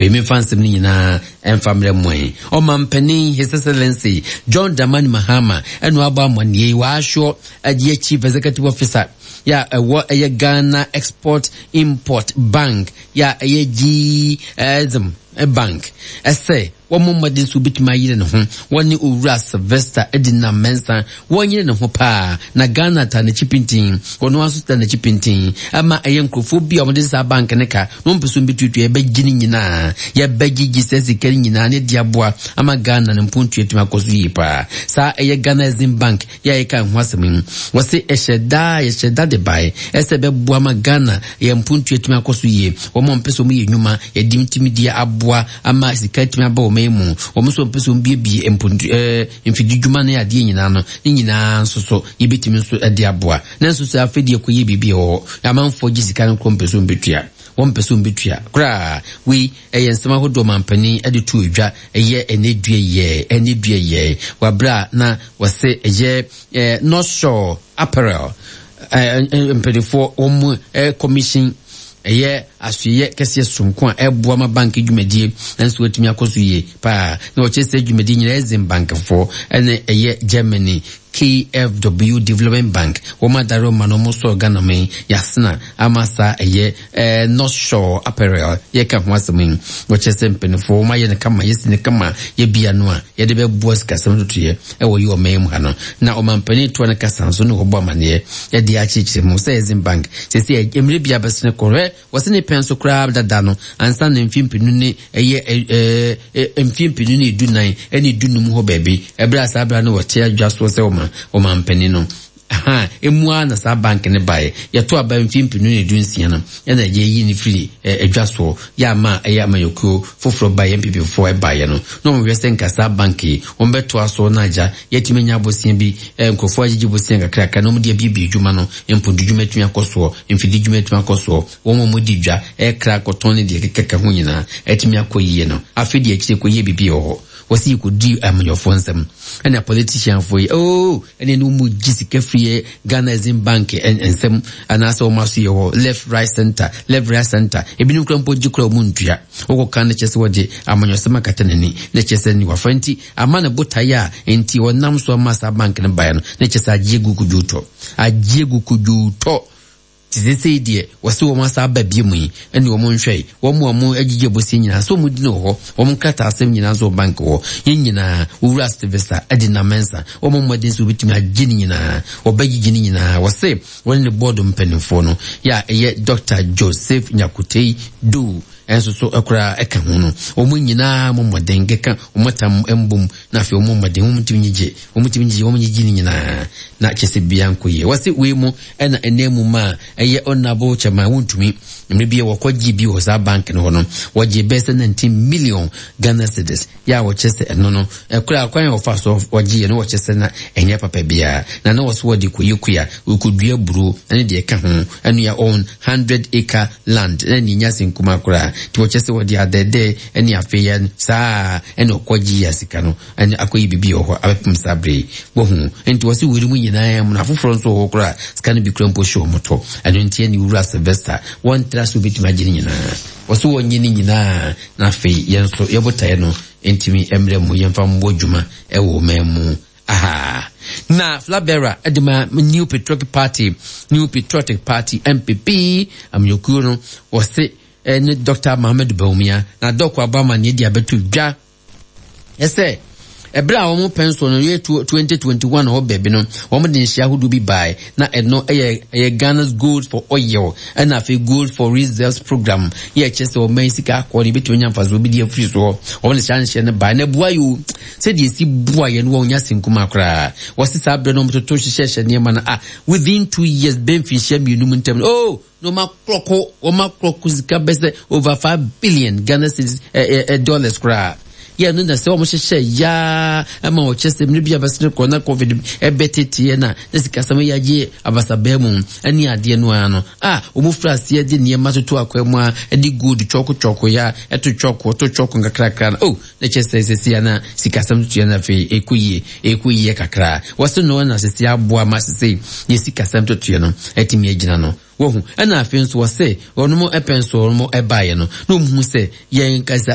Wei memfa nsɛm no nyinaa ɛmfa mmerɛ mo. Ɔmampanin His Excellency John Dramani Mahama ɛna wabɔ amanneɛ yi, wɔahwɛ ɛyɛ Chief Executive Officer yɛ a ɛwɔ ɛyɛ Ghana Export Import Bank yɛ a ɛyɛ GEXIM Bank ɛsɛ wɔmmɔ mmɔden sɛ wobɛtumi ayere ne ho. Wɔne Owura Sylvester Edinam Mensah wɔnyere ne ho paa na Ghana ta n'akyi pintinn, ɔno ara nso ta n'akyi pintinn ɛma ɛyɛ nkurɔfoɔ bi a wɔde saa bank no ka na wɔmpɛ sɛ wɔbɛtuatua, yɛbɛgye ne nyinaa, yɛbɛgyegye saa sika no nyinaa ne de aboa ama Ghana no mpontuo atumi akɔ so yie paa. Saa ɛyɛ Ghana Exim Bank yɛ a yɛka ho asɛm yi, wɔse ɛhyɛ da yɛhyɛ da de bae ɛsɛ ɛbɛboa ma Ghana yɛ mpontuo atumi akɔ so yie. Wɔn a wɔmpɛ sɛ wɔyɛ nnwuma yɛde tumi de aboa ama sika atumi aba wɔn mu, wɔn nso wɔmpɛ sɛ wɔbiebie mpontu ɛɛ mfididwuma ne adeɛ nyinaa no ne nyinaa nso so yɛbɛtumi nso de aboa. Nanso sɛ afei deɛ kɔyɛ biribi wɔ hɔ, amanfoɔ gye sika no korɔ mpɛ sɛ wɔbɛtua, wɔmpɛ sɛ wɔbɛtua koraa. Wei ɛyɛ nsɛm ahodoɔ mampanin de to dwa ɛyɛ ɛnɛ dua yɛ ɛnɛ dua yɛ wabrɛ a na wɔse ɛyɛ ɛɛ North Shore Apparel ɛɛ mpanimfoɔ wɔn mu ɛɛ commission ɛyɛ asoɛyɛ kɛseɛ soronko a ɛboa ma bank dwumadie nso atumi akɔ so yie paa. Na wɔkyerɛ sɛ dwumadie nyinaa Exim bankfoɔ ɛne ɛyɛ Germany KfW Development Bank wɔn adare ɔma no wɔn sɔɔ Ghana man yasena ama saa ɛyɛ ɛɛ North Shore Apparel yɛka ho asɛm yi. Wɔkyerɛ sɛ mpanimfoɔ wɔn ayɛ no kama, yɛsi no kama, yɛbia no a yɛde bɛboa sikasɛm totoyɛ ɛwɔ yi ɔman mu ha no. Na ɔmampanin toa no kasa nso ne wɔbɔ amaneɛ yɛde akyerɛkyerɛ mu sɛ Exim Bank sɛsɛ mmerɛ bi abɛsene kɔhwɛ wɔse ne pɛn so koraa dada no ansa na mfeɛ mpenu ne ɛyɛ ɛɛ mfeɛ 2014 ɛne 15 hɔ baabi ɛberɛ a saa berɛ no wɔte adwa soɔ sɛ ɔma ɔmampanin no ha emu ara na saa bank ne baeɛ. Yɛto aba mfeɛ 2016 no ɛna yɛyi ne firi adwa soɔ yɛ ama ɛyɛ amayɔkuo foforɔ baeɛ NPP foɔ ɛbaeɛ no na wɔn hwɛ sɛ nka saa bank yi wɔn bɛtoa so na agya yɛtumi anya abosia bi nkurɔfoɔ agyegye bosia kakrakra na wɔn de abiebie adwuma no, mpontodwuma atumi akɔ soɔ, mfididwuma atumi akɔ soɔ, wɔn a wɔdi dwa ɛkra kɔtɔn ne deɛ kekaka ho nyinaa atumi akɔ yie no. Afei deɛ akyire kɔyɛ biribi wɔ hɔ, wɔsi yɛkɔdi amanyɔfoɔ nsɛm ɛna politicianfoɔ yi oh ɛne ne wɔn gye sika firi Ghana Exim Bank nsɛm anaasɛ wɔn aso yɛ hɔ left right center, left right center, ebinom kura mpo gye kura wɔn ntua. Wɔkɔka no kyerɛ sɛ wɔde amanyɔsɛm akata n'ani na kyerɛ sɛ ne wafa nti ama ne botaeɛ a nti ɔnam so ama saa bank no baeɛ no na kyerɛ sɛ agye gu kodwotɔ, agye gu kodwotɔ. Te sɛ deɛ wɔse wɔn asa aba bie mu yi ɛne wɔn nhwɛ wɔn a wɔn agyigye abosie nyinaa sɛ wɔn di no wɔ hɔ, wɔn nkrataa asɛm nyinaa nso wɔ bank hɔ. Yɛn nyinaa Owura Sylvester ɛde nam Mensah wɔn mmɔden sɛ wɔbɛtumi agye ne nyinaa, wɔbɛgyegye ne nyinaa. Wɔse wɔne ne bɔɔdo mpanimfoɔ no yɛ a ɛyɛ Dr. Joseph Nyakutei Doe ɛnso so ɛkoraa ɛka ho no, wɔn nyinaa mo mmɔden keka wɔn atam mbom na afei wɔn mmɔden wɔn ntumi nyigye, wɔn ntumi nyigye, wɔn nyigye ne nyinaa na kyɛ sɛ bia nkɔ yie. Wɔse wei mu ɛna ɛnɛ mu ma ɛyɛ honorable chairman wontumi mmerɛ bi wɔkɔ gye bi wɔ saa bank no hɔ no, wɔgye bɛyɛ sɛ 19 million Ghana cedis yɛ a wɔkyɛ sɛ ɛno no ɛkora kwan a wɔfa so wɔgye yɛ no wɔkyɛ sɛ na ɛnyɛ papa biara na na wɔso wɔde kɔyɛ kua, wɔkɔdua buro ɛne deɛ ɛka ho ɛno yɛ on 100 acre land na ne nya senkuma koraa nti wɔkyɛ sɛ wɔde adɛdɛ ɛne afei yɛ saa ɛna ɔkɔgye yɛ sika no ɛne akɔyɛ biribi wɔ hɔ abɛpem saa bere yi wɔhu. Nti wɔse wɔre mu nyinaa mu na afoforɔ nso wɔ hɔ koraa sika no bi kura mpo hyɛ wɔn tɔ. Ɛno nti ɛne Wura Sylvester wɔntra so bɛtumi agye ne nyinaa, wɔso wɔnyɛ ne nyinaa na afei yɛn nso yɛbotaeɛ no ntumi mmerɛ mu yɛmfa mmɔ adwuma ɛwɔ ɔman mu aha. Na Flabera ɛde ma New Patriotic Party, New Patriotic Party MPP amanyɔkuo no wɔse ɛne Dr. Mohamed Bawumia na dɔkɔ abɔ amanneɛ de abɛto dwa ɛsɛ ɛberɛ a wɔn pɛn so no yɛ 2021 hɔ baabi no wɔn de nhyia ahodoɔ bi bae na ɛno ɛyɛ ɛyɛ Ghana's Gold for Oil ɛna afei Gold for Reserves program yɛ ɛkyɛ sɛ wɔn mɛn sika akɔ ne ebɛtumi anya mfasoɔ bi de afiri soɔ. Wɔn de saa nhyɛ no bae na ɛboa yi o, sɛdeɛ esi boa yɛn no wɔn nya senkuma koraa. Wɔsi saa berɛ no wɔn toto hyehyɛhyɛ nneɛma no a within 2 years bɛn mfinhyia 2 mu ntam no oh na wɔn akorɔko wɔn akorɔko sika bɛ sɛ over 5 billion Ghana cedis dollars koraa. Yɛ no na sɛ wɔn hyehyɛ yaa ɛma wɔkyɛ sɛ mmiri bi abɛsene kɔ na covid ɛbɛteteɛ na na sikasɛm yɛ agye abasabaa mu ɛne adeɛ no ara no a wɔn fira aseɛ de nneɛma toto akwan mu a ɛde gold kyɔko kyɔko ya ɛto kyɔko to kyɔko nkakrakra no oh na kyɛ sɛ sɛsi ana sikasɛm toto yɛ na afei ɛkɔ yie ɛkɔ yie kakra. Wɔse no na sɛsi aboa ma sɛsi yɛ sikasɛm toto yɛ no ɛtumi agyina no. Wɔhu ɛna afei nso wɔse wɔn mo ɛpɛn so wɔn mo ɛbaeɛ no na wɔn hu sɛ yɛn kasa.